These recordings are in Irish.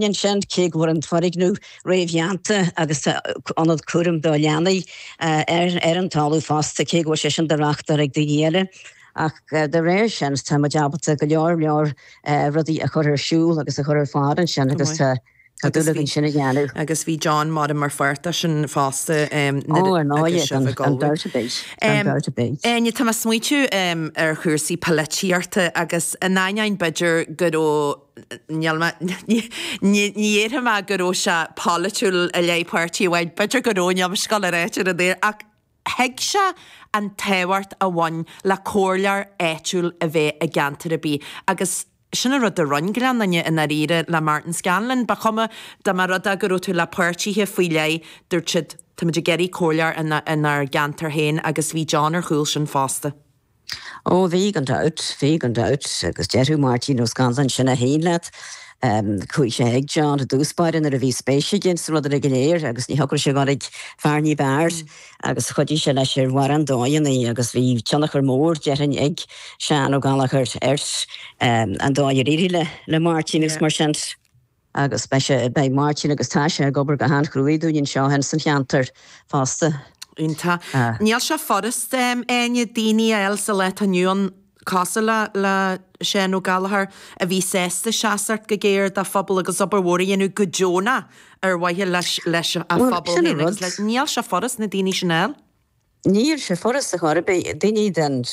Ansin, cé go bhfuil an foirgneamh réamhdhéanta agus tá ionad cúraim do leanaí ar an talamh fosta, cé go bhfuil sé sin do reáchtáil ag daoine eile, ach dá réir sin tá muid ábalta go leor leor rudaí a chur ar siúl agus a chur ar fáil ansin agus tá dúil againn sin a dhéanamh. Agus bhí John mar mar pháirt de sin fosta nuair Ó, ar ndóigh, gan dabht ar bith, gan dabht ar bith. Áine, tá mé ag smaoitiú ar chúrsaí polaitíochta agus in ainneoin b'fhéidir go raibh Níl mé, ní dhéarfaidh mé go raibh sé polaitiúil i leith páirtí amháin, b'fhéidir go raibh, níl mise ag gabháil a ráit ar an aer, ach thuig sé an tábhacht a bhain le comhairleoir áitiúil a bheith i gceantar ar bith agus sin an rud a roinn Gleann Fhinne i ndáiríre le Martin Scanlon. Ba chuma dá mba rud é go raibh tú le páirtithe faoi leith, dúirt siad, táimid ag iarraidh comhairleoir inár gceantar féin agus bhí John ar chúl sin fosta. Ó, bhí, gan dabht, bhí, gan dabht, agus déarfadh Máirtín Ó Scanláin sin é féin leat. Chuaigh sé ag John i dtús báire nuair a bhí spéis aige sna rudaí go léir agus ní thiocfadh sé a dhul ag fear ní b'fhearr agus chuidigh sé leis ar mhórán dóigheanna agus bhí tionchar mór, déarfainn, ag Seán Ó Gallchóir ar an dóigh ar éirigh le Máirtín agus mar sin. Agus beidh sé, beidh Máirtín agus tá sé ag obair go han-chruaidh dúinn anseo ins an cheantar fosta. Iontach. Níl sé furast, Áine, daoine a fháil sa lá atá inniu ann cosúil le le Seán Ó Gallchóir a bhí sásta seasacht go géar dá phobal agus obair mhór a dhéanamh go deonach ar mhaithe leis leis a Bhuel, phobal sin an féin agus rud. le, níl sé furast na daoine sin a fháil. Níl sé furast ar chor ar bith, daoine den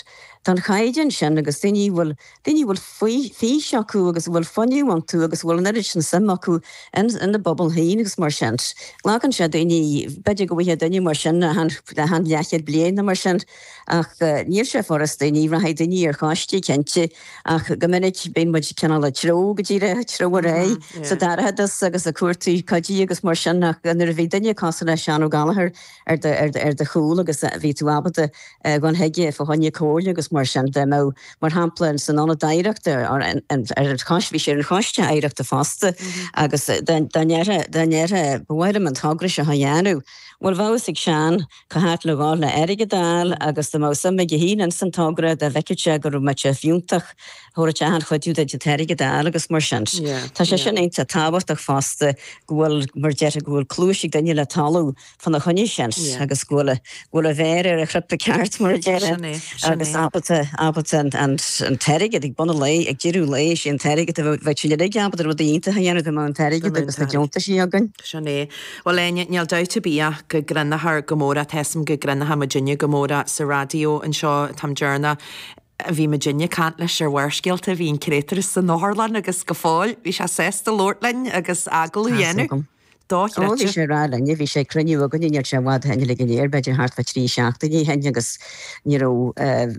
den chaighdeán sin agus daoine a bhfuil, daoine a bhfuil fís acu agus a bhfuil fuinneamh iontu agus a bhfuil an oiread sin suim acu in ina bpobal féin agus mar sin. Glacann sé daoine, b'fhéidir go bhfaighfeá duine mar sin achan achan leathchéad bliain nó mar sin ach níl sé furast daoine, rachaidh daoine ar choistí cinnte ach go minic bíonn muid cineál ag treabhadh go díreach, ag treabhadh ar aghaidh sa dorchadas agus ag cuartú cuidí agus mar sin ach nuair a bhí duine cosúil le Seán Ó Gallchóir ar do, ar do, ar do chúl agus bhí tú ábalta dhul chuige fá choinne comhairle agus mar sin dá mbeadh, mar shampla, san Ionad Oidhreachta, ar an choiste, bhí sé ar an choiste oidhreachta fosta agus dá, dá ndéarfá, dá ndéarfá, ba mhaith liom an togra seo a dhéanamh, bhuel bheadh fhios ag Seán cá háit le dhul le airgead a fháil agus dá mbeadh suim aige féin ins an togra, dá bhfeicfeadh sé go raibh sé fiúntach, thabharfadh sé achan chuidiú duit an t-airgead a fháil agus mar sin. Tá sé sin iontach tábhachtach fosta go bhfuil, mar déarfá, go bhfuil cluais ag duine le talamh fána choinne sin agus go bhfuil go bhfuil a mhéar ar an chnaipe ceart mar a déarfá agus ábalta ábalta an an an t-airgead ag bun an lae ag deireadh an lae is é an t-airgead a bheadh sinn uilig ábalta rudaí iontacha a dhéanamh dá mbeadh an t-airgead agus na deontaisí againn. Sin é. Bhuel Áine, níl dabht ar bith ach go gcronófar go mór é, tá 'fhios a'm go gcronóidh muidinne go mór é sa raidió anseo, an t-am deireanach a bhí muidinne ag caint leis ar Bharrscéalta, bhí an créatúr san otharlann agus go fóill bhí sé sásta labhairt linn agus agallamh a dhéanamh. Dochreidte. Ó, bhí sé ag rá linne, bhí sé ag cruinniú againne, níl sé i bhfad ó shin uilig go léir, b'fhéidir thart fá thrí seachtainí ó shin agus ní raibh,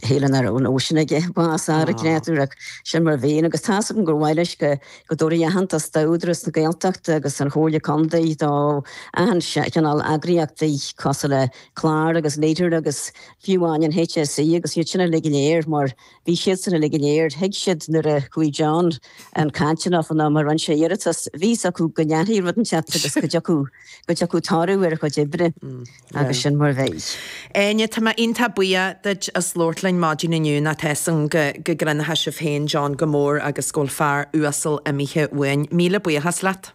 shíl nach raibh an nóisean aige bás a fháil an créatúr ach sin mar a bhíonn agus tá's agam gur mhaith leis go, go dtabharfaí aitheantas d'Údarás na Gaeltachta agus an Chomhairle Contae, do achan chineál eagraíochtaí cosúil le CLAR agus Leader agus fiú amháin an HSE agus iad sin uilig go léir mar Bhí siadsan uilig go léir, thuig siad nuair a chuaigh John chun cainte leofa nó mar rinne sé iarratas, bhí fhios acu go ndéanfaí rud inteacht agus go dtiocfadh, go dtiocfadh toradh ar a chuid oibre agus sin mar a bhí. Áine, tá mé iontach buíoch duit as labhairt linn maidin inniu nó tá 'fhios a'm go, go gcronóidh sibh féin John go mór agus go bhfuil fear uasal imithe uainn. Míle buíochas leat.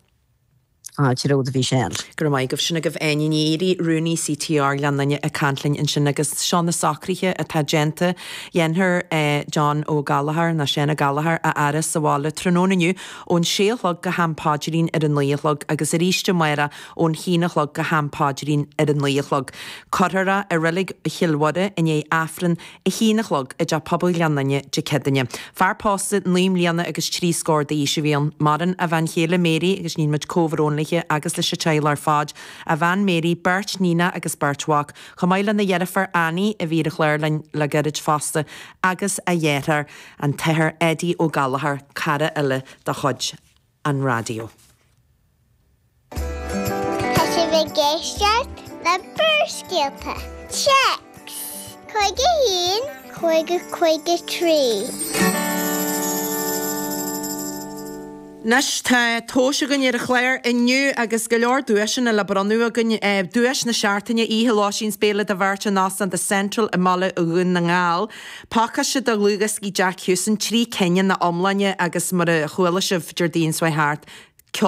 Fáilte romhat a Mhichelle. Go raibh maith agaibh. Sin agaibh Áine Ní Fhéirí, Rúnaí CTR Ghleann Fhinne ag caint linn ansin agus seo na socruithe atá déanta. Dhéanfar John Ó Gallchóir, nó Seán Ó Gallchóir, a fhaire sa bhaile tráthnóna inniu ón sé a chlog go ham paidrín ar a naoi a chlog agus arís amárach ón haon a chlog go ham paidrín ar a naoi a chlog. Cuirfear é i Reilig Chill Mhuire i ndiaidh Aifreann a haon a chlog i dTeach Pobail Ghleann Fhinne Dé Céadaoine. Fear pósta 9 mbliana agus 3 scór d'aois a bhí ann. Maireann a bhean chéile Mary agus níonn muid comhbhrón léi agus leis an teaghlach ar fad. A bhean Mary, beirt níonacha agus beirt mhac, chomh maith lena dheirfiúr Annie a bhí ar an chlár linn le gairid fosta agus a dheartháir, an tAthair Eddie Ó Gallchóir, cara eile de chuid an raidió. Tá sibh ag éisteacht le Barrscéalta. Téacs 51 50 53. Anois tá tomhais againn ar an chlár inniu agus go leor duaiseanna le bronnadh againn. Duais na seachtaine, oíche lóistín 's béile do bheirt in Óstán The Central i mBaile Dhún na nGall. Pacáiste de dhlúthdhioscaí Jack Hewson, 3 cinn ina iomláine agus mar a chuala sibh Déardaoin seo chuaigh thart.